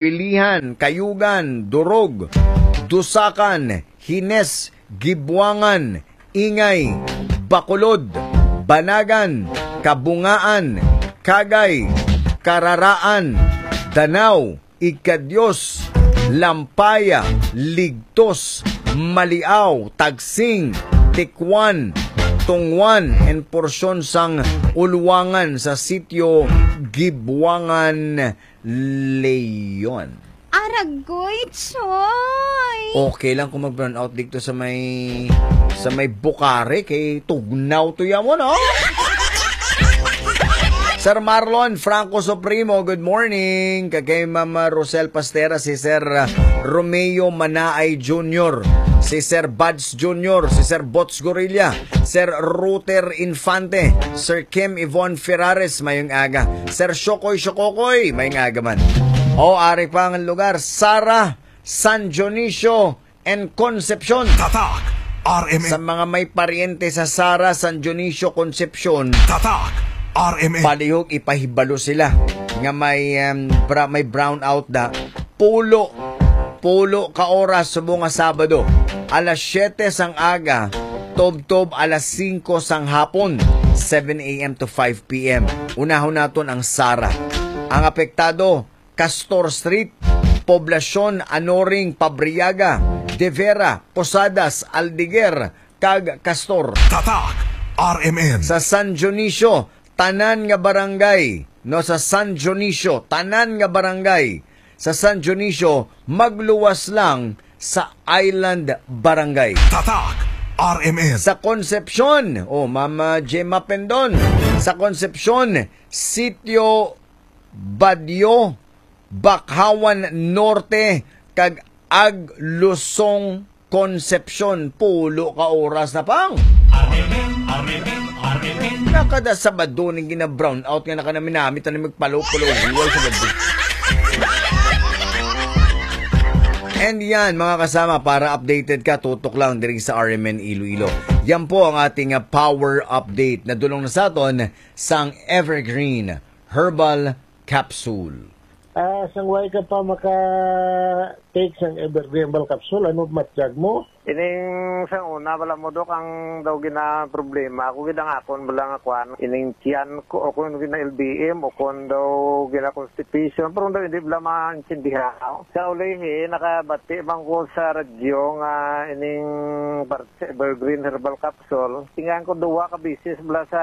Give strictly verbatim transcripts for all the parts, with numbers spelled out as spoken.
Pilihan, Kayugan, Durog, Dusakan, Hines, Gibuangan, Ingay, Bacolod, Banagan, Kabungaan, Kagay, Kararaan, Danao, Igkadios, Lampaya, Ligtos, Maliaw, Tagsing, Tikwan, Tungwan, and porsyon sang Ulwangan sa sitio Gibuangan, Leon. Aragoy, Choy! Okay lang kung mag-brown out dito sa may, sa may Bukare, kay tugnaw to yan mo, no? Sir Marlon Franco Supremo, good morning. Kag kay Ma'am Rosel Pastera, si Sir, uh, Romeo Manaay Junior, si Sir Buds Junior, si Sir Bots Gorilla, Sir Ruter Infante, Sir Kim Yvonne Ferrares, mayong aga. Sir Shokoy Shokokoy, mayong aga man. O, ari pa ang lugar, Sara, San Dionisio, and Concepcion. Tatak R M N. Sa mga may paryente sa Sara, San Dionisio, Concepcion, Tatak R M N. Palihog ipahibalo sila nga may, um, bra-, may brownout na. Pulo, pulo ka oras subong nga Sabado. Alas siyete sang aga, tubtob alas singko sang hapon, seven a m to five p m. Unahon naton ang Sara. Ang apektado, Castor Street, Poblacion, Anoring, Pabriaga, De Vera, Posadas, Aldeguer, kag Castor. Tatak R M N. Sa San Dionisio, tanan nga barangay, no, sa San Dionisio, tanan nga barangay, sa San Dionisio, magluwas lang sa Island Barangay. Tatak R M N. Sa Concepcion, oh, Mama Gemma Pendon, sa Concepcion, Sitio Badio, Bakhawan Norte, kag Aglusong, Concepcion. Pulo ka oras na pang. Arnel Ben, Arnel Ben, Arnel Ben. Nakada Sabado ning gina-brown out nga nakanaminamit na magpalo-palo. Huwal sa gabi. And yan, mga kasama, para updated ka, tutok lang diri sa R M N Iloilo. Yan po ang ating, ah, power update. Nadulong na sa aton sang Evergreen Herbal Capsule. Ah, sang way ka pa maka-take sang Evergreen Herbal Capsule, ano matyag mo? Ining sang una, bala mo, Dok, ang daw gina problema. Ako gid ang akon bala nga kwan. Ining tiyan ko, o kung gina L B M, o kung daw gina constipation, pero daw hindi bala maintindihan. Sa ulihi, nakabati man ko sa radyo nga ining parte sa Evergreen Herbal Capsule. Tingan ko duwa ka bisis bala sa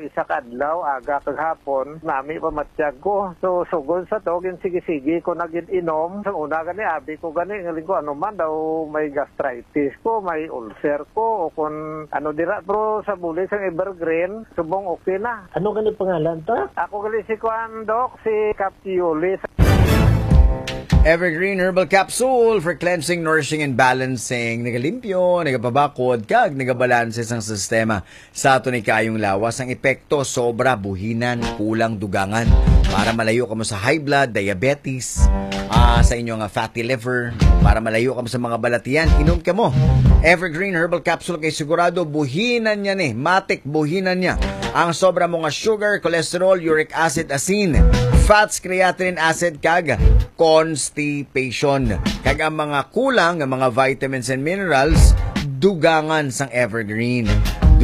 isa ka adlaw, aga kag hapon, nami pa matyag ko. So, sugod sa to, gin sige-sige ko na gid inom. Sa una gani, abi ko gani, ngaling ko, ano man daw, may gastritis ko, may ulcer ko, o kon ano dira. Pero sa bulig sang Evergreen, subong okay na. Ano gani pangalan ta? Ako gali si kuan, Doc, si Cap Yuli. Evergreen Herbal Capsule for cleansing, nourishing, and balancing. Nagalimpyo, nagapabakod, kag nagabalanse sang sistema sa aton ikayong lawas. Ang epekto, sobra, buhinan, kulang, dugangan. Para malayo kamo sa high blood, diabetes, ah, sa inyo nga fatty liver, para malayo kamo sa mga balatian, inom kamo Evergreen Herbal Capsule kay sigurado buhinan niya ni, matik buhinan niya ang sobra mo nga sugar, cholesterol, uric acid, asin, fats, creatinine acid, kag constipation. Kag ang mga kulang nga mga vitamins and minerals, dugangan sang Evergreen.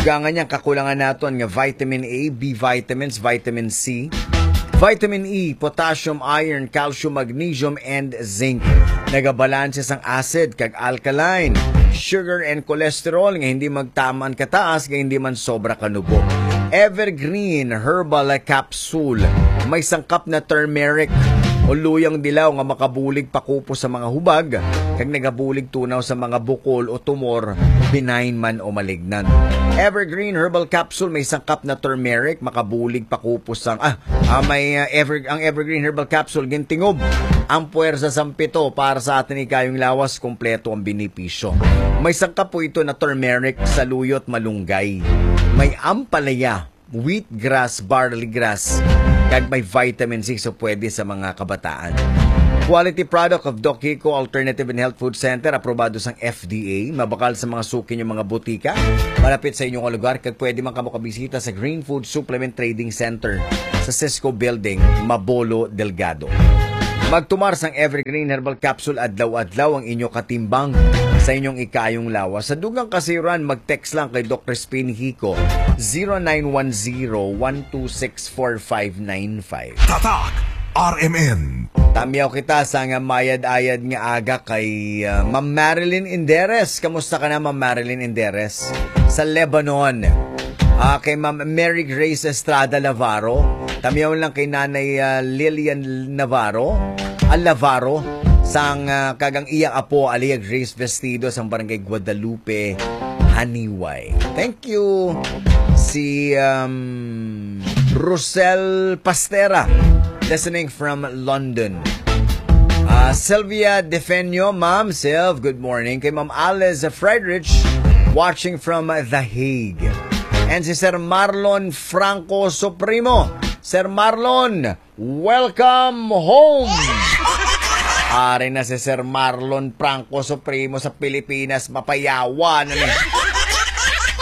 Dugangan niya ang kakulangan naton nga vitamin A, B vitamins, vitamin C, vitamin E, potassium, iron, calcium, magnesium, and zinc. Nagabalanse sang acid kag alkaline, sugar and cholesterol nga hindi magtaman kataas nga hindi man sobra kanubo. Evergreen Herbal Capsule. May sangkap na turmeric o luyang dilaw nga makabulig pakupos sa mga hubag kag nagabulig tunaw sa mga bukol o tumor, benign man o malignant. Evergreen Herbal Capsule may sangkap na turmeric, makabulig pakupos sang, ah, ah, may, ah, ever, ang Evergreen Herbal Capsule gintingob ang puwersa sang pito para sa aton ikayong lawas, kompleto ang benepisyo. May sangkap po ito na turmeric, saluyot, malunggay. May ampalaya, wheatgrass, barley grass, kag may vitamin C, so pwede sa mga kabataan. Quality product of Doc Kiko Alternative and Health Food Center, aprobado sang F D A, mabakal sa mga suki niyo mga butika, malapit sa inyong lugar, kag pwede man kamo kabisita sa Green Food Supplement Trading Center sa Cisco Building, Mabolo, Delgado. Magtumar sang Evergreen Herbal Capsule adlaw-adlaw ang inyo katimbang sa inyong ikayong lawas. Sa dugang kasayuran, mag-text lang kay Doc Crispin Hico, zero nine one zero, one two six, four five nine five. Tatak R M N. Tamyaw kita sa nga mayad-ayad nga aga kay, ah, Ma'am Marilyn Inderes. Kamusta ka na, Ma'am Marilyn Inderes? Sa Lebanon. Ah, kay Ma'am Mary Grace Estrada Navarro. Tamyaw lang kay Nanay, ah, Lillian Navarro. Ah, Navarro. Sang, ah, kagang iya apo, alias Grace Vestido, sang Barangay Guadalupe, Haniway. Thank you. Si, um, Rosel Pastera, listening from London. Ah, Sylvia Defenio, Ma'am Sylv, good morning. Kay Ma'am Alice Friedrich, watching from The Hague. And si Sir Marlon Franco Supremo. Sir Marlon, welcome home! Ari na si Sir Marlon Franco Supremo sa Pilipinas, mapayawa na ni.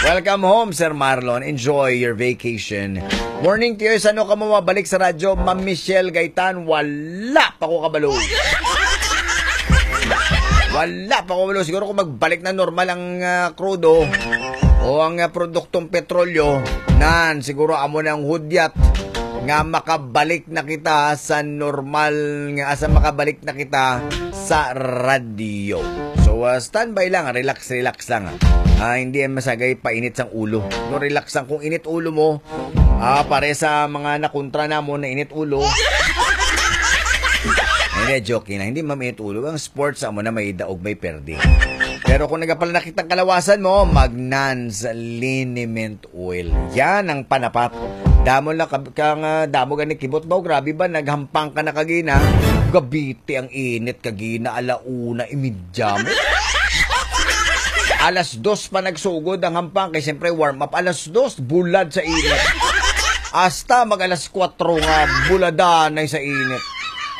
Welcome home, Sir Marlon. Enjoy your vacation. Morning, Tiyoy. Sano ka mo mabalik sa radyo? Ma'am Michelle Gaitan, wala pa ko kabalo. Wala pa ko kabalo. Siguro kung magbalik na normal ang, ah, krudo o ang, ah, produktong petrolyo, nan, siguro amo na ang hudyat nga makabalik na kita sa normal nga, asa makabalik na kita sa radyo. So, ah, standby lang, relax, relax lang, ah. Ah, hindi yan masagay painit sang ulo. No, relax lang kung init ulo mo. Ah, pare sa mga nakontra namon na init ulo. Hindi, joke na. Hindi, ma'am, init ulo. Ang sports, amo na may daog, may perdi. Pero kung nagapala nakitang kalawasan mo, mag Nans liniment oil. Yan ang panapat. Damo lang kab-, kang, ah, damo gani kibot ba? Grabe ba? Naghampang ka na kagina. Gabiti ang init kagina. Ala una, imidya mo. Alas dos pa nagsugod ang hampang. Kay siyempre, warm up. Alas dos, bulad sa init. Hasta mag alas kwatro nga, buladanay sa init.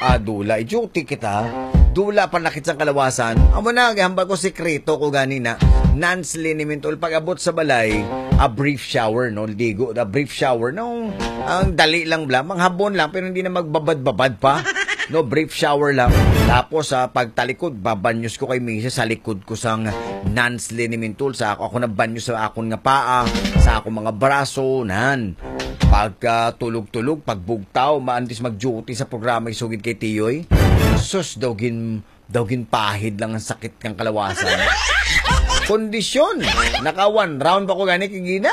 Ah, dula. I-duty kita. Dula pa nakit sa kalawasan. Amo na, gihambal ko, sikreto ko gani na. Nans liniment oil. Pag-abot sa balay, a brief shower, no? Ligo, a brief shower, no? Ang dali lang bla, manghabon lang, pero hindi na magbabad-babad pa. No, brief shower lang. Tapos, sa pagtalikod, babanyos ko kay misis sa likod ko sang Nans liniment oil. Sa ako, ako nabanyo sa akon nga paa, sa akong mga braso, nan. Pagkatulog-tulog, pagbugtaw, maantis mag-duty sa programa, isugid kay Tiyoy. Sus, daw gin, daw ginpahid lang ang sakit kang kalawasan. Kondisyon. Naka one round pa ko gani kagina.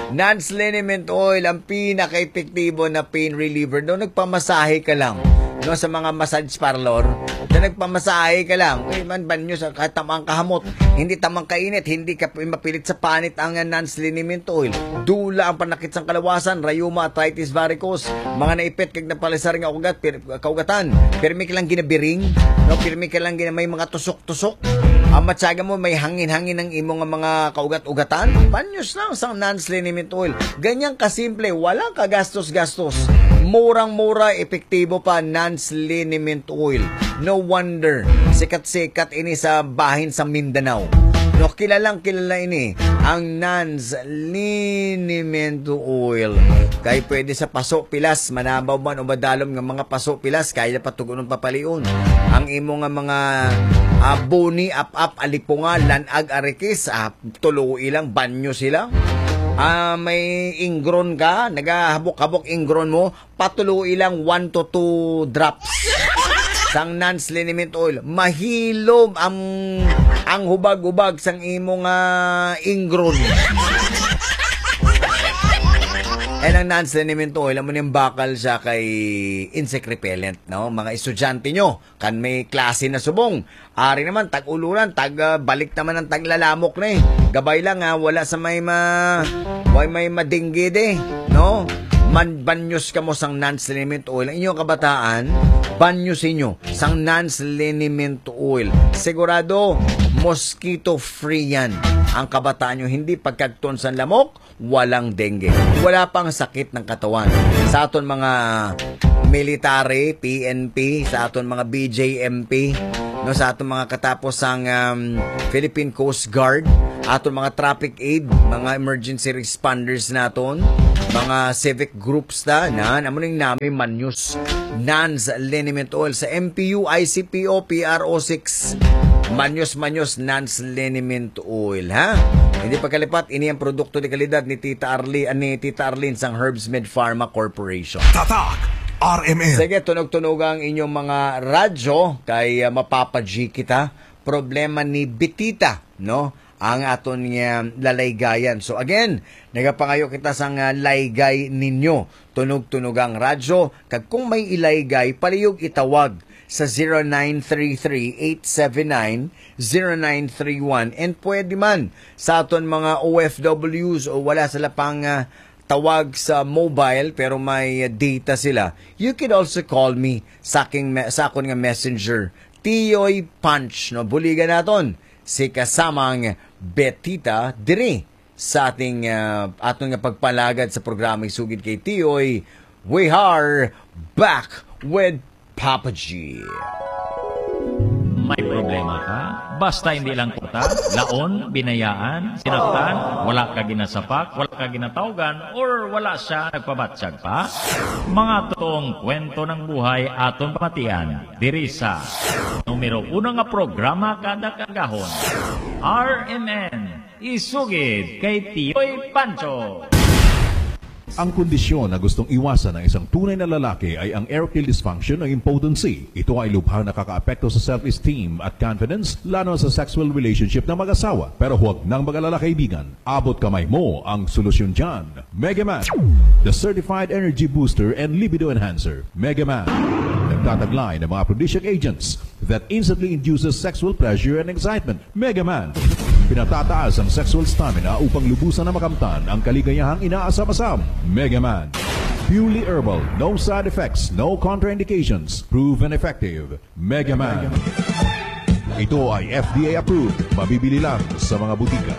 Nans liniment oil, ang pinaka-epektibo na pain reliever. No, nagpamasahe ka lang, no, sa mga massage parlor, na nagpamasahe ka lang, eh, man banyo sa katamang kahamot, hindi tamang kainit, hindi ka mapilit sa panit ang Nans liniment oil. Dula ang panakit sang kalawasan, rayuma, arthritis, varicose, mga naipit kag napalisar nga ugat, pir-, kaugatan. Pirmi ka lang ginabiring, no, pirmi ka lang gina-, may mga tusok-tusok. Ang matyaga mo, may hangin-hangin ang imo nga mga kaugat-ugatan. Banyos lang sang Nans liniment oil. Ganyang kasimple, walang kagastos-gastos. Murang-mura, epektibo pa, Nans liniment oil. No wonder, sikat-sikat ini sa bahin sa Mindanao. No, kilalang kilala ini, ang Nans liniment oil. Kay pwede sa paso, pilas, manabaw man o madalom nga mga paso, pilas, kaya patugunon papalion. Ang imo nga mga, ah, buni, ap-ap, alipunga, lanag, arikis, ah, tuluoy lang, banyo sila. Ah, may ingron ka, nagahabok-habok ingron mo, patuloy lang one to two drops sang Nans liniment oil. Mahilom ang, ang hubag-hubag sang imo nga ingron. And ang Nans liniment oil, amo ning bakal siya kay insect repellent, no? Mga estudyante nyo, kan may klase na subong, ari naman, tag-uluran, tag, ah, balik naman ang taglalamok na eh. Gabay lang, ah, wala sa may ma-, way may madinggid eh, no? Man, banyos kamo sang Nans liniment oil. Ang inyong kabataan, banyos inyo sang Nans liniment oil. Sigurado, mosquito free yan. Ang kabataan nyo, hindi pagkagton sang lamok, walang dengue. Wala pang sakit ng katawan. Sa aton mga military, P N P, sa aton mga B J M P, no, sa aton mga katapos sang, um, Philippine Coast Guard, aton mga traffic aid, mga emergency responders naton, mga civic groups ta, na, amo ning nami Manyos Nans Liniment Oil sa M P U, I C P O, P R O six. Manyos, Manyos Nans Liniment Oil, ha? Hindi pagkalipat, ini ang produkto de kalidad ni Tita Arlene, ni Tita Arlene sang Herbs Med Pharma Corporation. Tatak R M N. Sige, tunog-tunog ang inyong mga radyo kay, ah, mapapa-G kita. Problema ni Betita, no? Ang aton nga lalaygayan. So again, nagapangayo kita sang, ah, laygay ninyo. Tunog-tunog ang radyo. Kag kung may ilaygay, palihog itawag sa zero nine three three eight seven nine zero nine three one. And pwede man sa aton mga O F Ws o wala sila pang, ah, tawag sa mobile pero may data sila, you can also call me sa aking me-, sa akon nga messenger, Tiyoy Punch, no? Buligan naton si kasamang Betita diri sa ating, ah, aton nga pagpalagad sa programa Isugid kay Tiyoy. We are back with Papa G. May problema ka? Basta hindi lang kwarta, laon, binayaan, sinaktan, wala ka ginasapak, wala ka ginatawgan, or wala siya nagpabatyag pa? Mga totoong kwento ng buhay aton pamatian diri sa numero uno nga programa kada kagahon, R M N. Isugid kay Tiyoy Pancho. Ang kondisyon na gustong iwasan ng isang tunay na lalaki ay ang erectile dysfunction o impotency. Ito ay lubhang nakakaapekto sa self-esteem at confidence, lalo na sa sexual relationship ng mag-asawa. Pero huwag nang mag-alala, kaibigan. Abot kamay mo ang solusyon dyan. Mega Man, the certified energy booster and libido enhancer. Mega Man, nagtataglay ng mga aphrodisiac agents that instantly induces sexual pleasure and excitement. Mega Man, pinatataas ang sexual stamina upang lubusan na makamtan ang kaligayahang inaasam-asam. Mega Man, purely herbal, no side effects, no contraindications, proven effective. Mega Man. Ito ay F D A approved, mabibili lang sa mga butika.